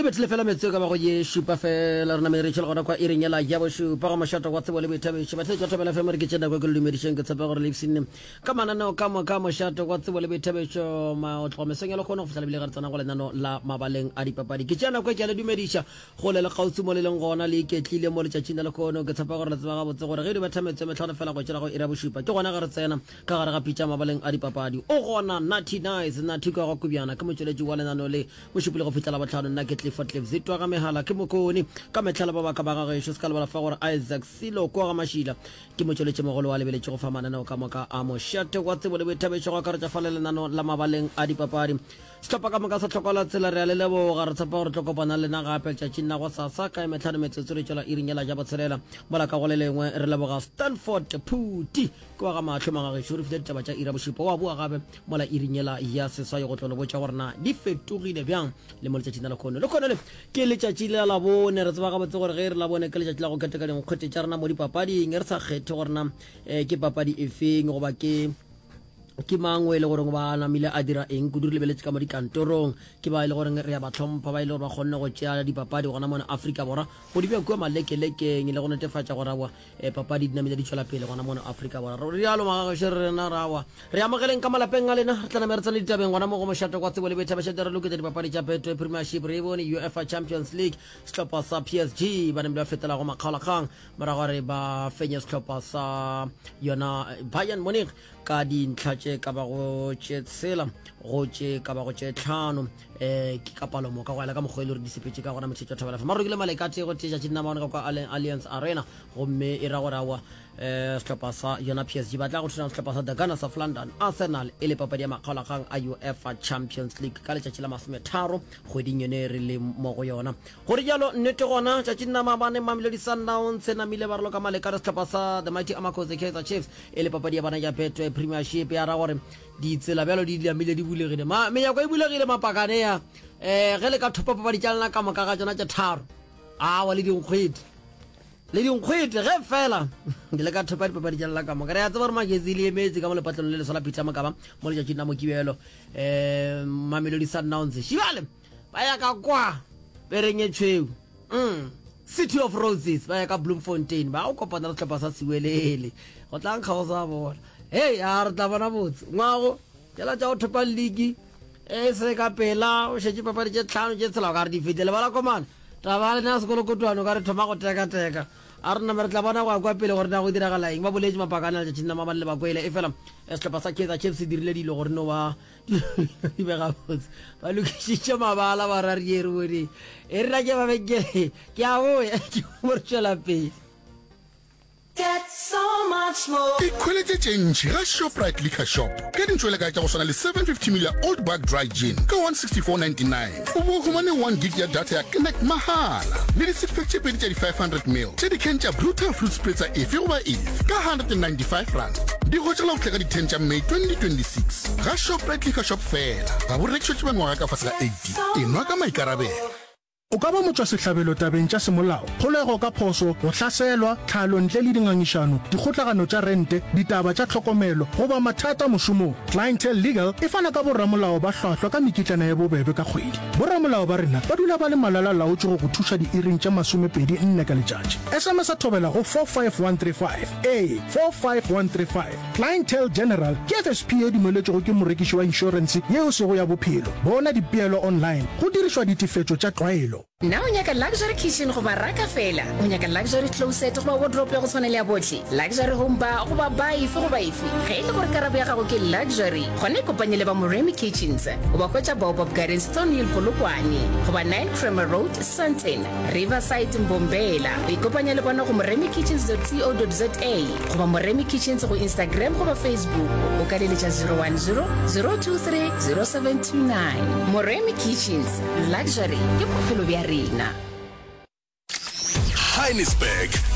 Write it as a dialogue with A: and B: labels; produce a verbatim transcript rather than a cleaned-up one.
A: bethile fela metsotso e ka bago ye šupa fela re namele re tšhela gona kwa iring yela ya bošupa ga mošato wa tsebo le boithabišo. Batheetši ba Thobela F M re ke tše nako ke le dumedišeng, ke tshepa gore le ipshinne ka mananeo ka moka a mošato wa tsebo le boithabišo ma tloga mesong ya lekgono go fihla lebile ga re tsena go lenano la mabaleng a dipapadi. Ke tšea nako e ke a le dumediša gole le kgauswi mo le leng gona le iketlile mo letšatšing la lekgono. Ke tshepa gore le tseba gabotse gore ge di betha metsotso e mehlano fela go tšela go iri ya bošupa ke gona ge re tsena ka gare ga pitša mabaleng a dipapadi. O gona Natty Nice Natty kwa ga Kubjana ke motšweletši wa lenano le Mošupologo go fihla Labohlano. Nna ke Clifford Cliff Zitwa ga Mehala ke Mokone ka mehla le ba baka ba gagešo. Se ka lebala fa gore Isaac Silo kwa ga Mašila ke motšweletšimogolo wa lebeletše go fa mananeo ka moka a mošate wa tsebo le boithabišo go akaretša fa le lenano la mabaleng a dipapadi. Sehlopha ka moka sa Hlokola Tsela re a le leboga. Re tshepa gore tlo kopana le lena gape letšatšing la gosasa ka e mehlano metsotso re tšwela iring yela ja botshelela. Mola ka go le lengwe re leboga Stanford Phuti ke wa ga Mahlo Magagešo re file ditaba tša iri ya bošupa. Wa boa gape mola iring yela ya seswai go tlo le botša gore na di fetogile bjang le mo letšatšing la lekhono. Lekhono le ke letšatši la Labone. Re tseba gabotse gore ge e re Labone ke letšatši la go keteka dinkgwete tša rena mo dipapading, re sa kgethe gore na eh, ke papadi efeng goba ke ke mang o e le goreng ba namile a dira eng kudu. Re lebeletše ka mo dikantorong ke ba e le goreng re ya ba hlompha, ba e le gore ba kgonne go tšea dipapadi gona mona Afrika Borwa go di bea kua malekelekeng le go netefatša gore aowa eh, papadi di namile di tšwela pele gona mona Afrika Borwa. Re rialo magagešo re rena re aowa re amogeleng ka malapeng a lena, re tla name re tsene ditabeng gona mo go mošato kwa tsebo le boithabišo. Re loketša dipapadi tša Betway Premiership, re e bone UEFA Champions League sehlopha sa P S G ba namile ba fetela go makgaolakgang morago gore ba fenye sehlopha sa yona Bayern Munich ka dintlha tše ka bago tše tshela go tše ka bago tše tlhano um ke ka palo moka go ela ka mokgwa e le gore di sepetše ka gona. Motšhetšo Thobela F M marokile maleka tee go tee tšatši dinamaone ka kwa Allianz Arena gomme e ra gore aowa um sehlopha sa yona P S G ba tla go thulana sehlopha sa The Gunners of London Arsenal e le papadi ya makgaolakgang a UEFA Champions League ka letšatši la masometharo kgweding yone re le mo go yona. Gore jalo nnete gona tšatši nna maabane Mamelodi Sundowns e namile ba raloka maleka le sehlopha sa The Mighty Amakhosi Kaizer Chiefs e le papadi ya bana ya Betway Premiership ya ra gore ditsela bjalo di namile di bulegile, ma menyako e bulegile mapakane ya eh ge le ka thopa papadi tša lena ka moka ga tšona tše tharo awa le dinkgwete le dinkgwete ge fela le ka thopa dipapadi tša lena ka moka. Re a tseba gore Magezi le emetse ka mo lepatlelong le leswa la Peter Mokaba mo letšatšing la Mokibelo um Mamelodi Sundowns šibale ba ya ka kwa pereng e tšhweu mm. City of Roses ba ya ka Bloemfontein ba go kopana le sehlopha sa Siwelele go tla nkga go sa bona. Hei a re tla bona botse ngwago tšela tša go thopa league e se ka pela o šetše papadi tše tlhano tše tshela o ka re di fetile bala komana taba ya lena ya sekolokotwane o ka re thoma go tekateka. A re name re tla bona go ya kwa pele gore na go diragala eng. Ba boletše mapakane a letšatšing la maabane le bakwele e fela sehlopha sa Kaizer Chiefs se dirile dilo gore no ba di be gabotse. Ba lokišitše mabala ba ra re re bone e re na ke mabenkele ke a boya ke mo re tšwela pele.
B: Get so much more.
C: Ikhweletše tše ntši ga Shoprite Liquor Shop ka dintšwelekae tša go swana le seven fifty ml ya Old Buck Dry Gin ka one sixty four ninety nine, o bo o humane one gig ya data ya Connect mahala le di six pack tše pedi tša di five hundred ml tša di-can tša Brutal Fruit Spritzer efe goba efe ka hundred and ninety five rand. Di hwetšagala go fihla ka di ten tša May twenty twenty six ga Shoprite Liquor Shop fela. Ga bo rekišetšwe ba mengwaga ka fase ga eighteen. Enwa ka maikarabelo.
D: O ka ba motšwasehlabelo tabeng tša semolao, kgolego ka phošo, go hlaselwa, tlhalo ntle le dingangišano, dikgotlagano tša rente, ditaba tša tlhokomelo, goba mathata mošomong. Clientele Legal e fana ka boramolao ba hlwahlwa ka mekitlana ye bobebe ka kgwedi. Boramolao ba rena ba dula ba le malala-laotšwe go go thuša diiring tše masomepedi nne ka letšatši. S M S thobela go four five one three five. Ee, four five one three five. Clientele General ke F S P ye dumeletšwego ke morekiši wa inšorense yeo sego ya bophelo. Bona dipeelo online go dirišwa ditefetšo tša tlwaelo.
E: Na o nyaka luxury kitchen goba raka feela? O nyaka luxury closet goba wardrobe ya go tshwana le ya bohle? Luxury home bar goba bar efe goba efe? Ge e le gore karabo ya gago ke luxury, gona ikopanye le ba Moremi Kitchens. O ba hwetša Baobab Gardens, Thornhill, Polokwane goba nine Kramer Road, Sandton, Riverside, Mbombela. O ikopanya le bona go moremikitchens dot co dot za goba Moremi Kitchens go Instagram goba Facebook. O ka leletša zero one zero, zero two three, zero seven two nine. Moremi Kitchens, luxury ke bophelo bja rena.
F: Johannesburg.